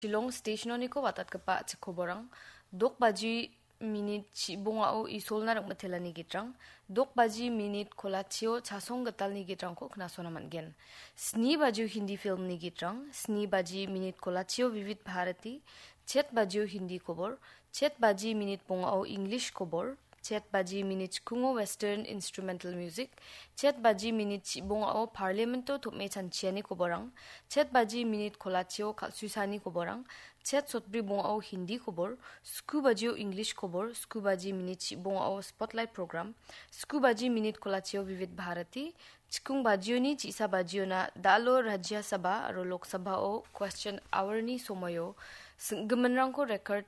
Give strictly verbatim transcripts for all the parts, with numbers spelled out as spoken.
Shillong stationoniko watatgipa chikkoborang, dok baji minit chibongao Isolna ringmitelani gitrang, dok baji minit kolachio chasong gitalni gitrangko knasona man·gen. Sni bajio Hindi filmni gitrang, sni baji minit kolachio Vivid Bharati, chet bajio Hindi kobor, chet baji minit bongao English kobor, chet baji minit chikungo Western Instrumental Music, chet baji minit chibongao Parliamento tom·e chanchiani koborang, chet baji minit kolachio kal·suisani koborang, chet sotbri bongao Hindi kobor, sku bajio English kobor, sku baji minit chibongao Spotlight Program, sku baji minit kolachio Vivid Bharati, chikung bajioni chisa bajiona dalo Rajya Sabha aro Lok Sabhao question hour-ni somoio singgiminrangko record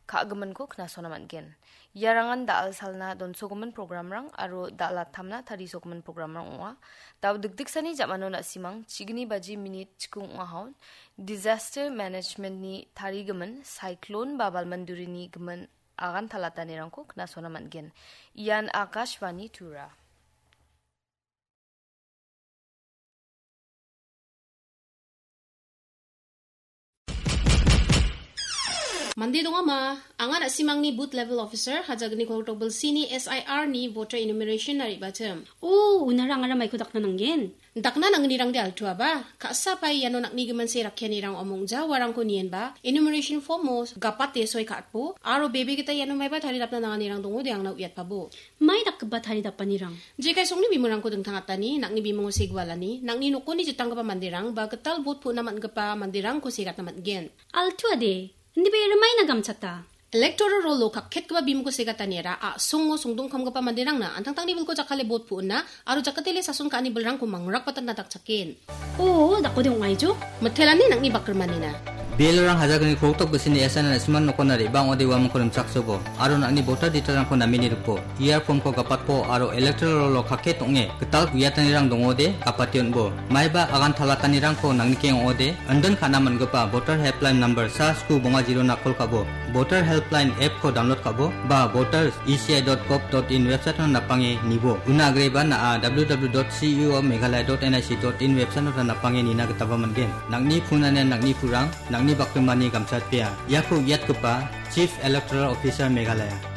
ka·giminko knasona man·gen. Iarangan da·al salna donsogimin programrang aro da·al attamna tarisogimin programrang ong·a. Dao dikdiksani jamano na·simang chigni baji minit chikung ong·ahon disaster management-ni tarigimin cyclone ba balmandurini gimin agan talatanirangko knasona man·gen. Ian Akashvani Tura. Mande dongama, anga na·simangni booth level officer, Hajagniko Tokbilsini S I R-ni voter enumeration-na re·batim. O, unara angara maiko dakna nanggen. Dakna nangnirangde altuaba, ka·sa pai iano nakni gimin se rakkianirang omongja uarangko nienba, enumeration form-o gapate soi ka·atbo, aro bebe gita iano maiba taridapna nanganirang dongode angna uiatpabo. Mai dakgipa taridapanirang? Jekai songni bimungko dingtang atani, nakni bimungo segualani, nakni nokoni jitanggipa manderang, ba gital bot pu·na man·gipa manderangko segatna man·gen. Altuade, indiba rimai nagamchata. Electoral roll-o kakketgipa bimungko segataniara a·songo songdongkamgipa manderangna antangtangni bilko jakkale bot pu·na aro jakatele sason ka·ani bilrangko mangrakbatatna dakchaken. O, dakode ong·aijo? Mitelani nang·ni bakrimanina. Bialrang Hajagniko Tokbilsini S I R-na na·siman nokona re·bang ong·ode uamangko rimchaksobo, aro nang·ni voter detail-rangko namini ripo, E R form-ko gapatpo, aro electoral roll-o kakket ong·e gital guiatanirang dongode gapate on·bo. Maiba agan talatanirangko nangnikeng ong·ode, indin ka·na man·gipa voter helpline number sa sku bonga zero-na kol ka·bo, voter helpline app-ko download ka·bo, ba voter E C I dot gov dot in website-ona napange nibo. Una agreba na·a W W W dot C E O Meghalaya dot N I C dot in website-ota napange nina gitaba man·gen. Nang·ni phone-ani nang·ni purang, nang·ni bakrimani gamchatpea. Iako uiatgipa Chief Electoral Officer Meghalaya.